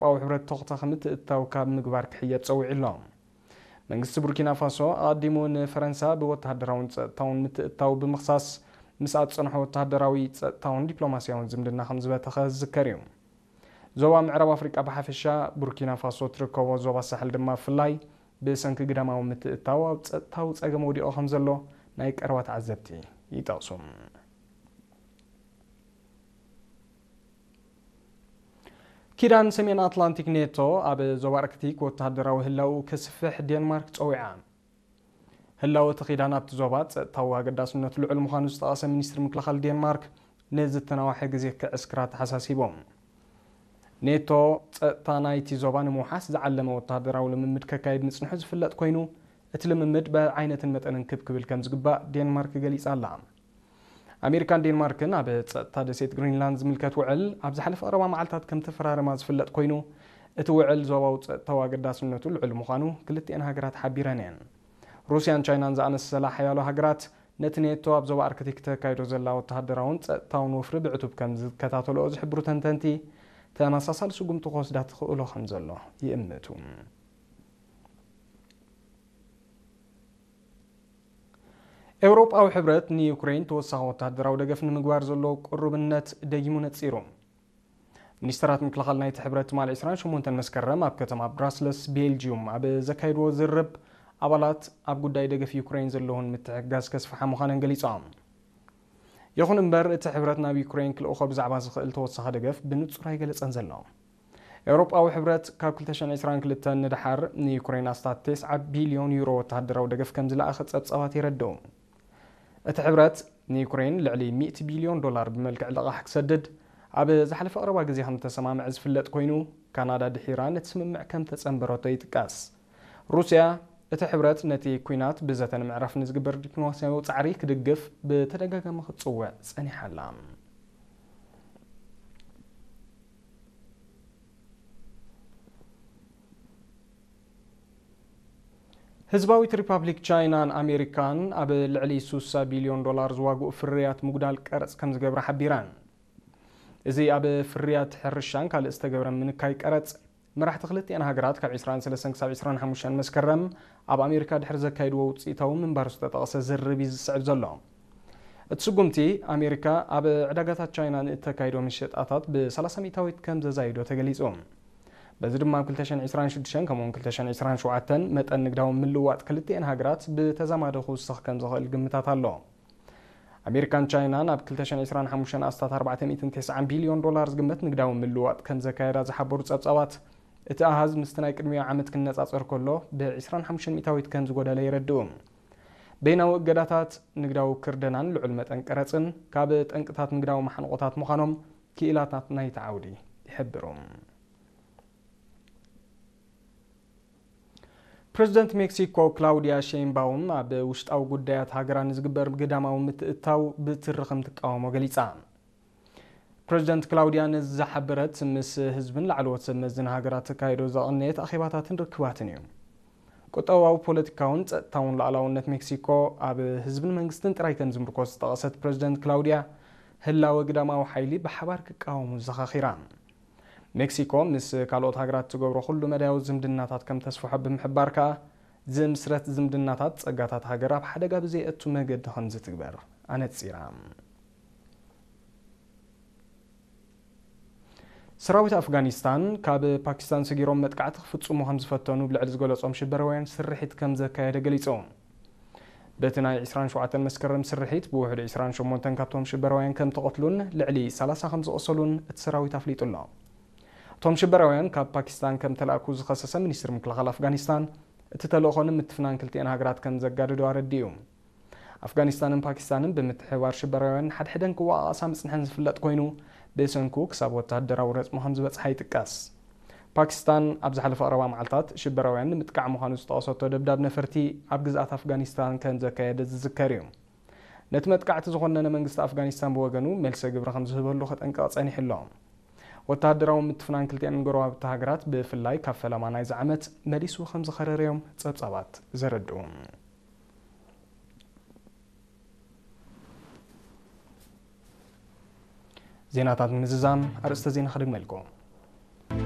ኤውሮጳዊ ሕብረት ተኹታ ከምትእታው ካብ ምግባር ክሕየጥ ጸዊዑ ኣሎ። መንግስቲ ቡርኪና ፋሶ ኣቐዲሙ ንፈረንሳ ብወተሃደራውን ጸጥታውን ምትእታው ብምኽሳስ፣ ምስ ኣጸንሖ ወተሃደራዊ፣ ጸጥታውን ዲፕሎማስያውን ዝምድና ከም ዝበተኸ ዝዝከር እዩ። ዞባ ምዕራብ ኣፍሪቃ ብሓፈሻ፣ ቡርኪና ፋሶ ትርከቦ ዞባ ሳሕል ድማ ብፍላይ፣ ብሰንኪ ግዳማዊ ምትእታው ኣብ ጸጥታዊ ጸገም ወዲቑ ከም ዘሎ ናይ ቀረባ ተዓዘብቲ ይጠቕሱ። ኪዳን ሰሜን ኣትላንቲክ ኔቶ ኣብ ዞባ ኣርክቲክ ወተሃደራዊ ህላውኡ ከስፍሕ ዴንማርክ ጸዊዓ። ህላወ እቲ ኪዳን ኣብቲ ዞባ ጸጥታዊ ኣገዳስነቱ ልዑል ምዃኑ ዝጠቐሰ ሚኒስትሪ ምክልኻል ዴንማርክ፣ ንዝተናውሐ ግዜ ክዕስክራ ተሓሳሲቦም። ኔቶ ጸጥታ ናይቲ ዞባ ንምውሓስ ዝዓለመ ወተሃደራዊ ልምምድ ከካይድ ምጽንሑ ዝፍለጥ ኮይኑ፣ እቲ ልምምድ ብዓይነትን መጠንን ክብ ክብል ከም ዝግባእ ዴንማርክ ገሊጻ ኣላ። ኣሜሪካን ዴንማርክን ኣብ ጸጥታ ደሴት ግሪንላንድ ዝምልከት ውዕል ኣብ ዝሓለፈ ቀረባ መዓልታት ከም ተፈራረማ ዝፍለጥ ኮይኑ፣ እቲ ውዕል ዞባዊ ጸጥታዊ ኣገዳስነቱ ልዑል ምዃኑ ክልቲኤን ሃገራት ሓቢረን እየን። ሩስያን ቻይናን ዝኣመሰላ ሓያሎ ሃገራት፣ ነቲ ኔቶ ኣብ ዞባ ኣርክቲክ ተካይዶ ዘላ ወተሃደራውን ጸጥታውን ወፍሪ ብዕቱብ ከም ዝከታተልኦ ዝሕብሩ ተንተንቲ፣ ተመሳሳሊ ስጉምቲ ክወስዳ ትኽእሎ ከም ዘሎ ይእምቱ። ኤውሮጳዊ ሕብረት ንዩክሬን ተወሳኺ ወተሃደራዊ ደገፍ ንምግባር ዘለዎ ቅሩብነት ደጊሙ ነጺሩ። ሚኒስተራት ምክልኻል ናይቲ ሕብረት ትማሊ ዕስራን ሸሞንተን መስከረም ኣብ ከተማ ብራስለስ፣ ቤልጂዩም፣ ኣብ ዘካየድዎ ዝርርብ፣ ኣባላት ኣብ ጉዳይ ደገፍ ዩክሬን ዘለውን ምትሕግጋዝ ከስፍሓ ምዃነን ገሊጾም። ይኹን እምበር፣ እቲ ሕብረት ናብ ዩክሬን ክልእኾ ብዛዕባ ዝኽእል ተወሳኺ ደገፍ ብንጹር ኣይገለጸን ዘሎ። ኤውሮጳዊ ሕብረት ካብ ክልተ ሽሕን ዕስራን ክልተን ንደሓር ንዩክሬን ኣስታት ተስዓ ቢልዮን ዩሮ ወተሃደራዊ ደገፍ ከም ዝለኣኸ ጸብጻባት የረድኡ። እቲ ሕብረት ንዩክሬን ልዕሊ ሚእቲ ቢልዮን ዶላር ብመልክዕ ልቓሕ ክሰድድ ኣብ ዝሓለፈ ቀረባ ግዜ ከም ዝተሰማምዐ ዝፍለጥ ኮይኑ፣ ካናዳ ድሒራ ነቲ ስምምዕ ከም ተጸንበረቶ ይጥቀስ። ሩስያ፣ እቲ ሕብረት ነቲ ኲናት ብዘተ ንምዕራፍ ንዝግበር ዲፕሎማስያዊ ጻዕሪ ክድግፍ ብተደጋጋሚ ክትጽውዕ ጸኒሓ ኣላ። ህዝባዊት ሪፓብሊክ ቻይናን ኣሜሪካን ኣብ ልዕሊ ስሳ ቢልዮን ዶላር ዝዋግኡ ፍርያት ምጉዳል ቀረጽ ከም ዝገብራ ሓቢረን። እዚ ኣብ ፍርያት ሕርሻን ካልእ ዝተገብረ ምንካይ ቀረጽ፣ መራሕቲ ክልቲኤን ሃገራት ካብ ዕስራን ሰለስተን ክሳብ ዕስራን ሓሙሽተን መስከረም ኣብ ኣሜሪካ ድሕሪ ዘካይድዎ ውጽኢታዊ ምንባሩ ዝተጠቕሰ ዝርርብ እዩ ዝስዕብ ዘሎ። እቲ ስጉምቲ፣ ኣሜሪካ ኣብ ዕዳጋታት ቻይና ንእተካይዶ ምሸጣታት ብሰላሳ ሚእታዊት ከም ዘዛይዶ ተገሊጹ። በዚ ድማ ኣብ ክልተ ሽሕን ዕስራን ሽዱሽተን ከምኡውን ክልተ ሽሕን ዕስራን ሸውዓተን መጠን ንግዳዊ ምልውዋጥ ክልቲኤን ሃገራት ብተዛማዲ ክውስኽ ከም ዝኽእል ግምታት ኣሎ። ኣሜሪካን ቻይናን ኣብ ክልተ ሽሕን ዕስራን ሓሙሽተን ኣስታት ኣርባዕተ ሚእትን ተስዓን ቢልዮን ዶላር ዝግመት ንግዳዊ ምልውዋጥ ከም ዘካየዳ ዝሓበሩ ጸብጻባት፣ እቲ ኣሃዝ ምስቲ ናይ ቅድሚኡ ዓመት ክነጻጸር ከሎ ብዕስራን ሓሙሽተን ሚእታዊት ከም ዝጎደለ የረድኡ። በይናዊ እገዳታት፣ ንግዳዊ ክርደናን ልዑል መጠን ቀረጽን ካብ ጠንቅታት ንግዳዊ ማሕንቆታት ምዃኖም ክኢላታት ናይቲ ዓውዲ ይሕብሩ። ፕረዚደንት ሜክሲኮ ክላውዲያ ሼይንባውም ኣብ ውሽጣዊ ጉዳያት ሃገራ ንዝግበር ግዳማዊ ምትእትታው ብትሪ ከም ትቃወሞ ገሊጻ። ፕረዚደንት ክላውዲያ ነዚ ዝሓበረት፣ ምስ ህዝብን ላዕለዎት ሰብ መዝን ሃገራት ተካይዶ ዘቐነየት ኣኼባታትን ርክባትን እዩ። ቁጠባዊ፣ ፖለቲካውን ጸጥታውን ሉዓላውነት ሜክሲኮ ኣብ ህዝብን መንግስትን ጥራይ ከም ዝምርኮስ ዝጠቐሰት ፕረዚደንት ክላውዲያ፣ ህላወ ግዳማዊ ሓይሊ ብሓባር ክቃወሙ ዘኻኺራ። ሜክሲኮ ምስ ካልኦት ሃገራት ትገብሮ ኩሉ መዳያዊ ዝምድናታት ከም ተስፍሖ ብምሕባር ከኣ፣ ዝምስረት ዝምድናታት ጸጋታት ሃገር ኣብ ሓደጋ ብዘየእቱ መገዲ ከም ዝትግበር ኣነጺራ። ሰራዊት ኣፍጋኒስታን ካብ ፓኪስታን ሰጊሮም መጥቃዕቲ ክፍጽሙ ከም ዝፈተኑ ብልዕሊ ዝገለጾም ሽበራውያን ስርሒት ከም ዘካየደ ገሊጹ። በቲ ናይ ዕስራን ሸውዓተን መስከረም ስርሒት ብውሕዱ ዕስራን ሸሞንተን ካብቶም ሽበራውያን ከም ተቐትሉን ልዕሊ ሰላሳ ከም ዝቖሰሉን እቲ ሰራዊት ኣፍሊጡ ኣሎ። እቶም ሽበራውያን ካብ ፓኪስታን ከም ተላእኩ ዝኸሰሰ ሚኒስትሪ ምክልኻል ኣፍጋኒስታን፣ እቲ ተልእኾ ንምትፍናን ክልቲኤን ሃገራት ከም ዘጋድዶ ኣረዲኡ። ኣፍጋኒስታንን ፓኪስታንን ብምትሕብባር ሽበራውያን ሓድሕደን ክወቓቐሳ ምጽንሐን ዝፍለጥ ኮይኑ፣ ብሰንኩ ክሳብ ወተሃደራዊ ረጽሚ ከም ዝበጽሓ ይጥቀስ። ፓኪስታን ኣብ ዝሓለፈ ቀረባ መዓልታት ሽበራውያን ንምጥቃዕ ምዃኑ ዝጠቐሰቶ ደብዳብ ነፈርቲ ኣብ ግዝኣት ኣፍጋኒስታን ከም ዘካየደ ዝዝከር እዩ። ነቲ መጥቃዕቲ ዝኾነነ መንግስቲ ኣፍጋኒስታን ብወገኑ መልሰ ግብሪ ከም ዝህበሉ ከጠንቅቕ ጸኒሑ ኣሎ። ወተሃደራዊ ምትፍናን ክልቲኤን ጎረባብቲ ሃገራት ብፍላይ ካብ ፈለማ ናይዚ ዓመት መሊሱ ከም ዝኸረረዮም ጸብጻባት ዘረድኡ። ዜናታት ንምዝዛም ኣርእስተ ዜና ክድግመልኩም።